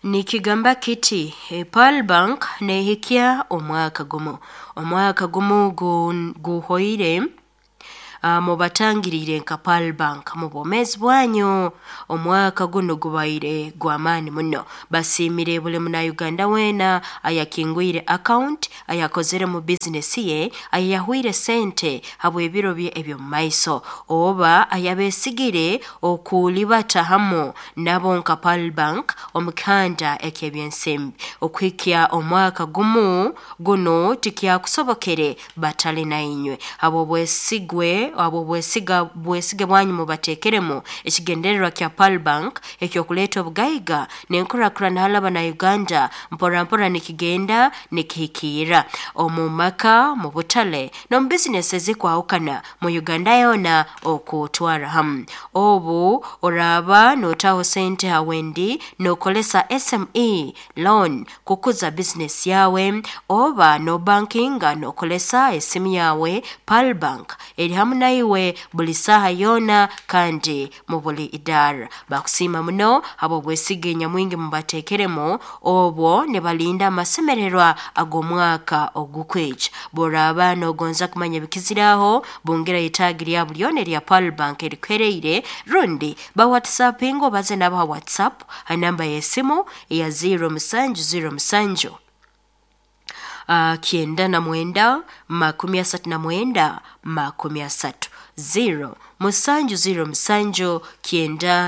Nikigamba kiti, Pearl Bank nehikya omwaka gumu. Omwaka gumu guhoire mubatangiriire nka Pearl Bank mu bwomeezi bwanyu. Omwaka gunu gubaire gw'amaani muno. Basiimire buli Munauganda weena ayakingwire account, ayakozere mu bizinesi ye, ayayahwire sente habw'ebiro bye eby'omumaiso, oba ayabeesigire okulibata hamu nabo nka Pearl Bank omu kihanda eky'ebyensimbi. Okuhikya omwaka gumu gunu tikyakusobokere batali nainywe. Habw'obwesigwe habw'obwesiga bwesige bwanyu mubateekeremu ekigendererwa kya Pearl Bank eky'okuleeta obugaiga n'enkurakurana hali Abanauganda mpora mpora nikigenda nikihikiirra omu maka, mu butale, n'omu bizinesi ezikwahukana mu Uganda yoona okutwarra hamu. Obu oraaba nootaho sente ha wendi nookozesa SME loan kukuza bizinesi yaawe oba noobankinga nookozesa esimu yaawe, Pearl Bank eri hamu naiwe buli saaha yoona kandi mu buli idaara. Bakusiima muno habw'obwesige nyamwingi mubateekeremu obwo nibalinda amasemererwa ag'omwaka ogukwija. Bw'oraaba noogonza kumanya ebikiziraho, bungira itaagi lyabo lyona erya Pearl Bank erikuheriire rundi ba whatsappinge obaze nabo ha WhatsApp ha namba y'esimu eya 0707 99 39 30 0 707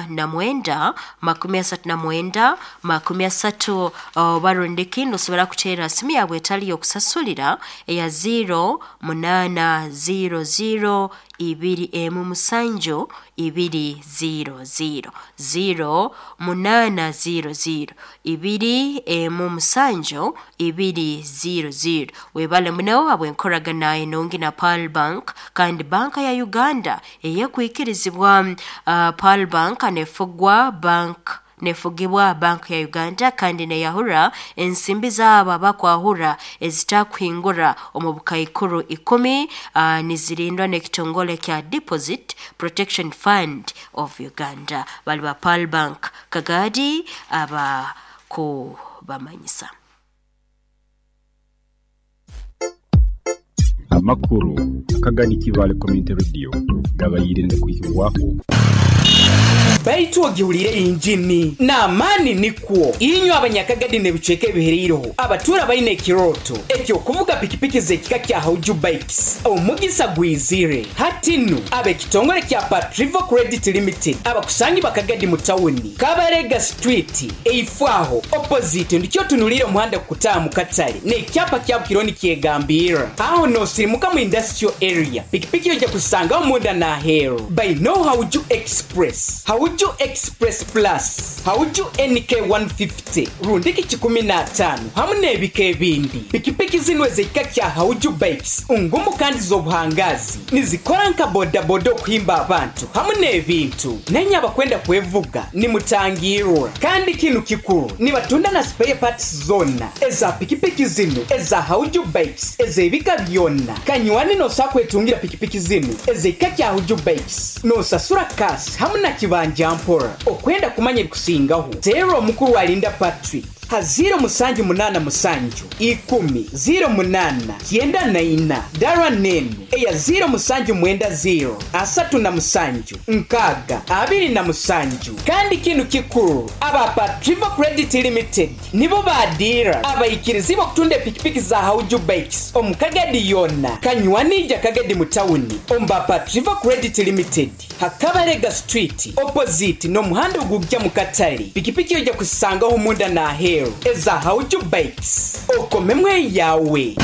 99 39 30 oba rundi kindi osobora kuteera simu yawe etali y'okusasulira eya 0 8 0 0 2 1 7 2 0 0 0 8 0 0 2 1 7 2 0 0. Webale muno habw'enkoragana enungi na Pearl Bank kandi banka ya Uganda eyekwikirizibwa. Pearl Bank nefugwa bank nefugibwa Bank ya Uganda kandi neyahura ensimbi zaabo abakwahura ezitakuhingura omu bukaikuru 10, nizirindwa n'ekitongole kya Deposit Protection Fund of Uganda. Bali ba Pearl Bank Kagadi abakubamanyisa. Amakuru akagani Kibaale Community Radio gabaire nigakwihibwaho. Baitu ogihuliire yinjini n'amaani nikwo. Inywe Abanyakagadi n'ebicweka ebihereireho abatuura baine ekirooto eky'okuvuga pikipiki z'ekika kya Hauju Bikes, omugisa gwizire. Hati nu ab'ekitongole kya Patrivo Credit Limited abakusangibwa Kagadi mu tawuni, Kabarega Street, eifo aho opposite ndikyo otunuliire omuhanda kukutaaha mu katale n'ekyapa kya Bukironi nikyegambirra. Aho n'osirimuka mu Industrial Area, pikipiki oija kuzisangaho munda n'aheeru. Bainegho Hauju Express, Hauju Express Plus, Hauju NK 150 rundiki kikumi n'ataano hamu n'ebika ebindi. Pikipiki zinu ez'ekika kya Hauju Bikes ngumu kandi z'obuhangaazi. Nizikora nka bodaboda okuhimba abantu hamu n'ebintu. Nainye abakwenda kwevuga nimutangirwa. Kandi kinu kikuru, nibatunda na spare parts zoona eza pikipiki zinu eza Hauju Bikes ez'ebika byona. Kanywani n'osobola kwetungira pikipiki zinu ez'ekika kya Hauju Bikes n'osasura cash hamu na kibanja mpora. Okwenda kumanya ebikusingaho, teerra omukuru Alinda Patrick ha ziiro musanju munaana musanju ikumi ziiro munaana kyenda na ina dara n'enu eya ziiro musanju mwenda ziiro asatu na musanju nkaaga abiri na musanju. Kandi kinu kikuru, aba Patrivo Credit Limited nibo baadiira abaikirizibwa okutunda epikipiki za Hauju Bikes omu Kagadi yoona. Kanywani ija Kagadi mu tawuni omu ba Patrivo Credit Limited ha Kabarega Street opposite n'omuhanda ogujja mu katale. Pikipiki oija kuzisangaho munda n'aheeru eza Hauju Bikes. Okomemu eyawe.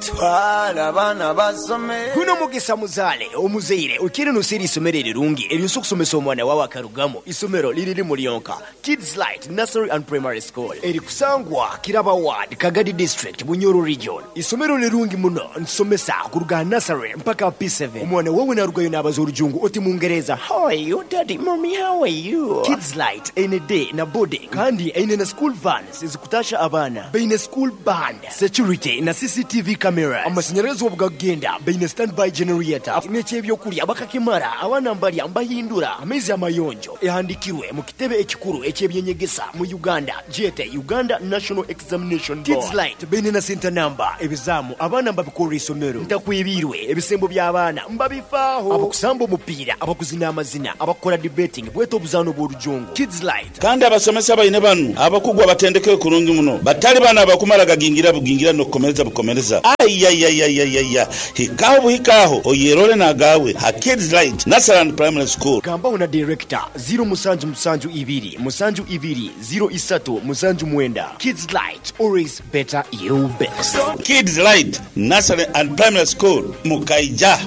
Twala abaana basome. Guno mugisa muzaale omuzaire okiire noseera eisomero erirungi eryosobola okusomesa omwana wawe akarugamu. Isomero liri limu lyonka, Kids Light Nursery and Primary School erikusangwa Kiraba Ward, Kagadi District, Bunyoro Region. Isomero lirungi muno nitusomesa kuruga aha nursery mpaka aha P7. Omwana wawe narugayo nabaza orujungu oti Mungereza, How are you daddy, mommy how are you? Kids Light eine day na boarding kandi eine na school vans ezikutasha abaana. Baine school band, security na CCTV cameras. cameras. Amasanyarazi obu gakugenda, baine standby generator n'eky'ebyokulya bakakimara, abaana mbalya mbahindura amaizi amayonjo. Ehandikirwe mu kitebe ekikuru eky'ebyenyegesa mu Uganda gyete Uganda National Examination Board. Kids Light baine na senta namba, ebizaamu abaana mbabikorra isomero. Ntakwibiirwe, ebisembo by'abaana mbabifaaho. Abakusamba omupiira, abakuzina amazina, abakukora debating bwete obuzaano bw'orujungu. Kids Light. Kandi abasomesa baine banu abakugu abatendekere kurungi muno, batali banu abakumara gagingira bugingira n'okukomereza bukomereza. Aiaiaiaiaia! Hikaho buhika aho oyerole n'agaawe ha Kids Light Nursery and Primary School. Gambaho na Director, ziro musanju musanju ibiri musanju ibiri ziro isatu musanju mwenda. Kids Light, always better you best. Kids Light Nursery and Primary School, Mukaija.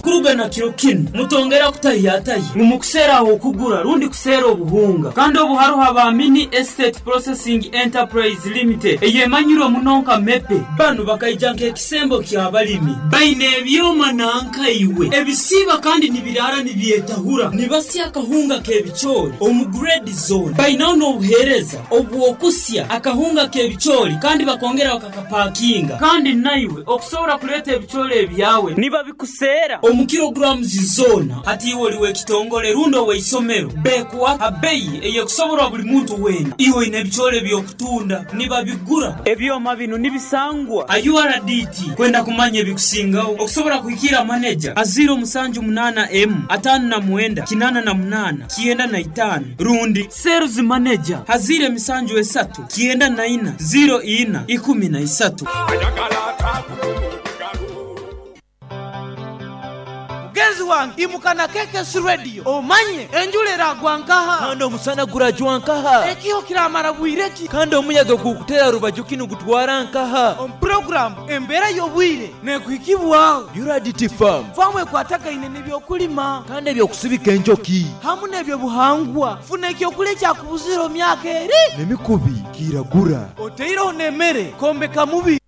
Kuruga na kiro kinu, mutongera kutahiyatahya ngu mukuseera ah'okugura rundi kuseera obuhunga. Kandi obu haroho aba Mini Estate Processing Enterprise Limited eyemanyirwe muno nka MEPE. Banu bakaija nk'ekisembo ky'abalimi. Baine ebyoma nanka iwe ebisiiba kandi nibiraara nibyetahura. Nibasya akahunga k'ebicoori omu grade zoona. Bainaho n'obuheereza obw'okusya akahunga k'ebicoori kandi bakongera bakakapakinga. Kandi naiwe okusobora kuleeta ebicoori ebyawe nibabikuseera omu kilograms zoona. Hati iwe oli w'ekitongole rundi ow'eisomero, bekuha ha beyi ey'ekusoborwa buli muntu weena. Iwe oine ebicoori eby'okutunda, nibabigura. Ebyoma binu nibisangwa ha URDT. Kwenda kumanya ebikusingaho, okusobora kuhikiira maneja ha ziiro musanju munaana emu, ataano na mwenda, kinaana na munaana, kyenda na itaano rundi Sales Manager ha ziiro emisanju esatu, kyenda na ina, ziiro ina, ikumi na isatu. Mugenzi wange imuka na KKC Radio omanye enjura eragwa nkaha. Kandi omusana gurajwa nkaha. Ekiho kiramara bwire ki. Kandi omuyaga gukutera rubaju ki nigutwara nkaha. Omu puroguramu Embeera y'Obwire nekuhikibwaho. URDT Farm. Faamu ekwatagaine n'ebyokulima. Kandi eby'okusibika enjoki. Hamu n'ebyobuhangwa. Funa ekyokulya ekyakubuzire omu myaka eri. N'emikubi kiragura. Oteireho n'emere kwombeka mubiri.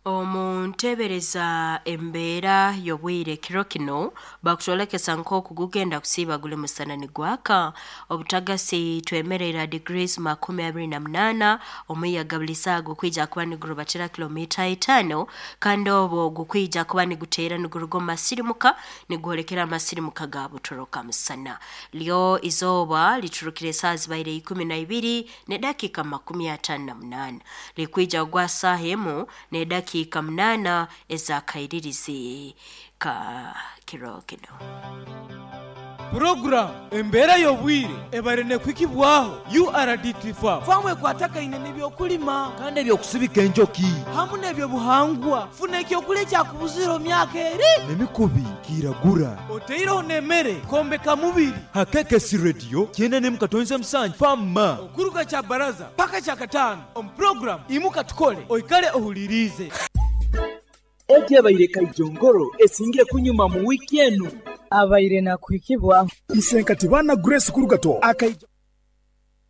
Omu ntebereza embeera y'obwire kiro kinu bakutwolekesa nk'oku gugenda kusiiba guli musana nigwaka obutagasi twemerera degrees 28 omuyaga buli saaha gukwija kuba nigurubatira kilomita 5 kandi obwo gukwija kuba niguteera niguruga omu masirimuka nigwolekera amasirimuka ga butoroka musana lyo izooba liturukire esaaha zibaire 12 n'edakiika 58 likwija kugwa saaha emu n'edakiika 8 ez'akairirizi ka kiro kinu. Puroguramu Embeera y'Obwire ebaire nekuhikibwaho URDT Farm. Faamu ekwatagaine n'ebyokulima. Kandi eby'okusibika enjoki. Hamu n'ebyobuhangwa. Funa ekyokulya ekyakubuzire omu myaka eri. N'emikubi kiragura. Oteireho n'emere kwombeka mubiri. Ha KKC Radio kyenda n'emu katonza musanju Farm Ma. Okuruga Kyabaraza paka Kyakataano omu puroguramu Imuka Tukole oikale ohuliriize. Egi ebaire Kaijongoro esingire kunyuma mu wiiki enu. Abaire nakuhikibwaho. Isenkati baana Grace Kurugato akaija.